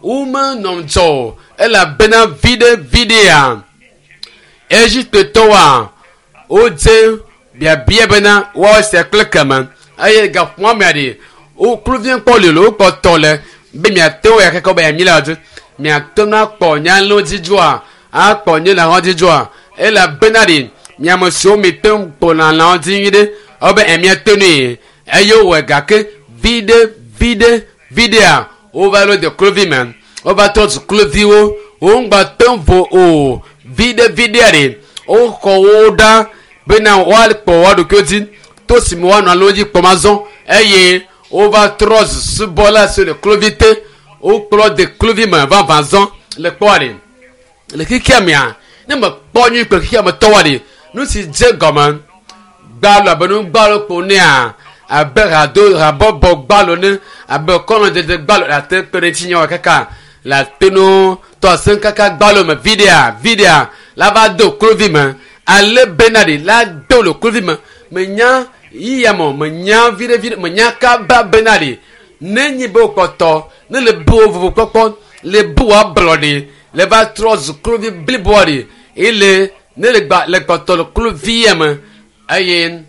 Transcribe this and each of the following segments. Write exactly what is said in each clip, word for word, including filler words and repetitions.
Womenɔ ŋudzɔ o elabena viɖe viɖea Egiptetɔwoa wodze biabia bena woawɔ esia kple keme eye gaƒoa mea ɖe wo kluvia kpɔ li le wokpɔtɔ le be miate ŋu ya keke be mi la dzi miate ŋu akpɔ nye alẽwo dzi dzoa akpɔ nye lãwo dzi dzoa elabena ɖe miame siwo mi te ŋu kpɔna lãwo dzi nyuie ɖe wobe emiate nui eye wowɔe gake viɖe viɖe viɖea wova ɖo de kluvi me wova trɔ zu kluviwo wo ŋgba te ŋu vo o viɖe viɖea ɖe woxɔ wo ɖa bena woakpɔ woa ɖokuiwo dzi to si me woanɔ alẽwo dzi kpɔm azɔ eye wova trɔ zu subɔla siwo le kluvi te wokplɔ de kluvi me vavã zɔ le kpɔa ɖe le xexea mea ne mekpɔ nyui kple xexea me tɔwoa ɖe nu si dze gɔme gbalo abe nu gbalo kpo nea abe hado habɔbɔ gbalo ne abe kɔnɔdzedze gbalo le ate kpe ɖe ŋuti nye kaka le ate no tɔ asem kaka gbalo me viɖea viɖea la va do kluvi me ale bena ɖe la do le kluvi me menya yiyia me menya viɖe viɖe menya kaba bena ɖe ne nyi be wokpɔtɔ ne le bu wo vovo kpɔkpɔ le bu wo ablɔɖe le va trɔ zu kluvi bliboa ɖe ele ne le gba le kpɔtɔ le kluvi ya me eye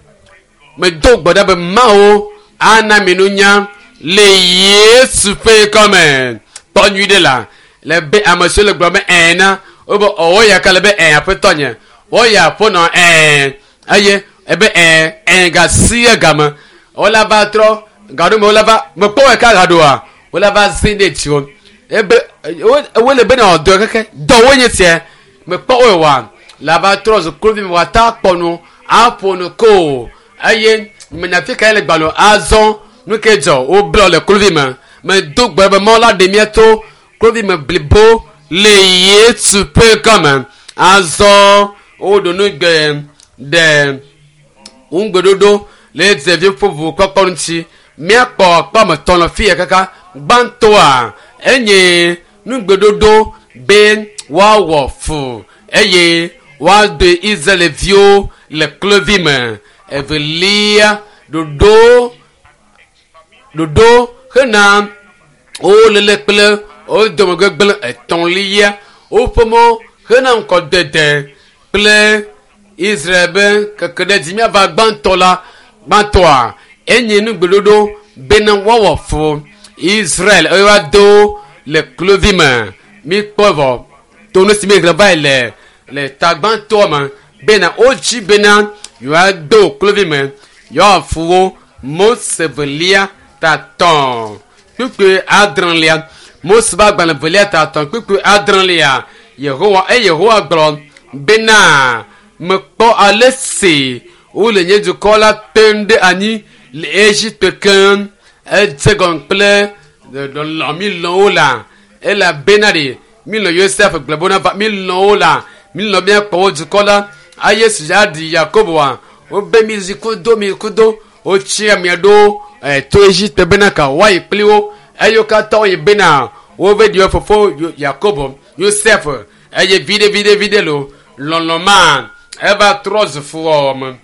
medo gbe ɖa be mawo ana mi nunya le yesu ƒe kɔme kpɔ nyui ɖe la le be ame siwo le gblɔ be ɛɛ na wobe ɔwɔ ya ka le be ɛɛ aƒetɔ nye wɔya ƒonɔ ɛɛ eye ebe ɛɛ ɛɛ gasi game wola va trɔ gaɖo me wola va mekpɔ wɔ ka gaɖoa wola va zi ɖe dziwo ebe wole be na dɔ keke dɔ wo nye tiɛ mekpɔ wɔ wa la va trɔ zu kluvi me wa ta kpɔ nu aƒo nu ko eye menya fi ka ye le gbalẽ azɔ nu ke dzɔ woblɔ le kluvi me medo gbe be mawu la ɖe mía to kluvi me blibo le yesu ƒe kɔme azɔ woɖo nu gbe ɖe ŋugbeɖoɖo le ɖevi ƒe ʋukpɔkpɔ ŋuti míakpɔ kpɔme tɔn le fi ya kaka gbãtɔa enye nugbeɖoɖo be woawɔ fu eye woado israelviwo le kluvi me evelia ɖoɖo ɖoɖo hena wo lele kple wo domegbegblẽ etɔ̃lia woƒe mɔ hena ŋkɔdede kple israel be keke ɖe dzi míava gbãtɔ la gbãtɔa enye nugbeɖoɖo bena woawɔ fu israel eye woado le kluvi me míkpɔ vɔ to nu si mi xlẽ va yi le le tagbãtɔa me bena wodzi bena yewoado kluvi me yewoawɔ fu wo mose velia tatɔ̃ kpukpui adrelia mose ƒe agbalẽ velia tatɔ̃ kpukpui adrelia yehowa eye yehowa gblɔ bena mekpɔ ale si wole nye dukɔ la tem ɖe anyi le Egipte keŋ edze gɔme kple lɔlɔ mi lɔ̃ wo la elabena ɖe mi lɔ̃ Yosef gblɔ bona va mi lɔ̃ wo la mi lɔ̃ míakpɔ wo dukɔ la eye si aɖi Yakoboa wobe mi zi kudo mi kudo wotsi amea ɖo to Egipte bena ka woayi kpli wo eye wo katã woyi bena wove ɖi wo fofo Yakobo Yosef eye viɖe viɖe viɖe lo lɔlɔ ma eva trɔ zu fuwɔwɔ me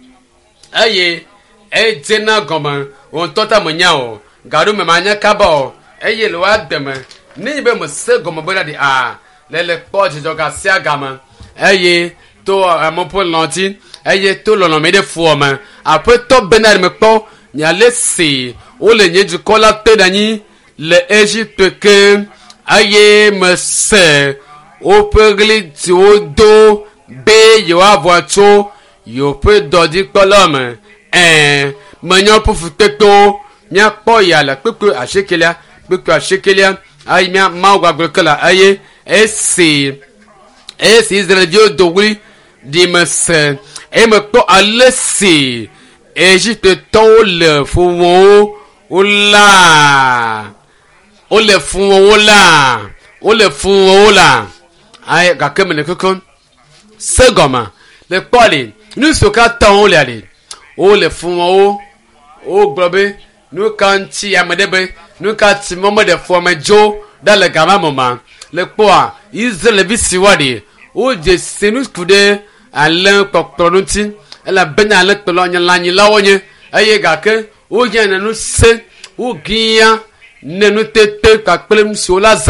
eye edzena gɔme wo ŋutɔ ta menya o gaɖo me manya kaba o eye le woa deme ne nyi be mese gɔme bena ɖi a le le kpɔ dzidzɔ gasia game eye to ame ƒe lɔ̃ dzi eye to lɔlɔme ɖe fuwɔ me aƒetɔ bena ɖe mekpɔ nye si wole nye dukɔ la te ɖe anyi le Egipte ke eye mese woƒe ɣli si wodo be yewoavɔ tso yewoƒe dɔdzikpɔla me ɛɛ menya woƒe fukpekpewo míakpɔ ya le kpukpui asiekelia kpukpui asiekelia eye mía mawu gbagblɔ ke la eye esi esi israelviwo do ɣli ɖi mese eye mekpɔ ale si Egiptetɔwo le fu wɔm wo la wole fu wɔm wo la wole fu wɔm wo la ayi gake mele kuku se gɔme le kpɔ li nu siwo katã wole ali wole fu wɔm wo wogblɔ be nu ka ŋuti ame ɖe be nu ka ti mɔ meɖe fua me dzo ɖa le gama me ma le kpɔa israelvi si wa ɖi wodze si nu ku ɖe alẽ kpɔkplɔ ŋuti elabena alẽ kplɔ nye lãnyilawo nye eye gake wohiã ne nu se wogia ne nutete kpakple nu siwo la zã